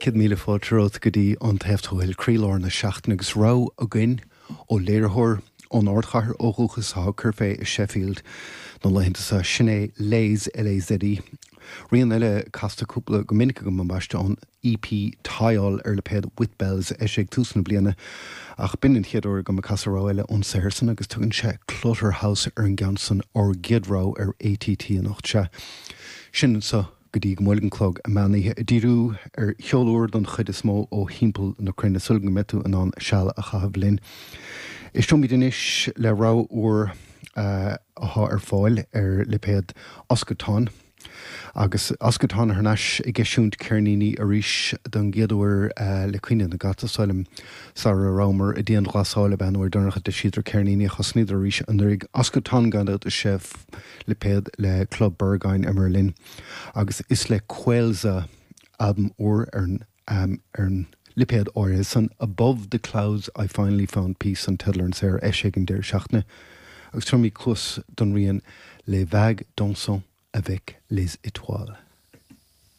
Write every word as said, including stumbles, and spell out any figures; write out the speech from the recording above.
Céad míle fáilte romhat go dtí An Taobh Thuaidh, croílár na seachtaine agus rogha againn ó léiritheoir ón ardchathair ó dhúchas atá ag cur fé i Sheffield na laethanta seo, sin é Laze, L A Z E. Rian eile casta cúpla go minic agam ambaiste ón E P Tial ar lipéad With Bells eisithe ag tús na bliana, ach b'in an chéad uair agam ag casadh rogha eile ón saothar san agus tugann sé Clutter House ar an gceann san, ár gcéad rogha ar A T T anocht. Sea, sin anseo go dtí go mbuailfidh an clog an meán oíche, ag díriú ar cheol úr don chuid is mó ó thimpeall na cruinne, súil go mbeidh tú in ann seal a chaitheamh linn. Éisteoimid anois le rogha úr atá ar fáil ar lipéad Oskaton. Agus Oskaton thar n-ais ag eisiúint ceirníní arís don gcéad uair le cuimhne na gcat, is dóigh liom, sara rabhamar i dianghlasáil ab ea an uair dheireanach a d'eisíodar ceirníní. Thosnaíodar arís anuraidh. Oskaton, gan dabht, is ea lipéad le Club Berghain i mBerlin agus is le Quelza albam úr ar an ar an lipéad áirithe san. Above the Clouds I Finally Found Peace an teideal ar an saothar eisithe ag an deireadh seachtaine agus tabharfaimid cluas don rian Les Vagues Dansant avec les Étoiles.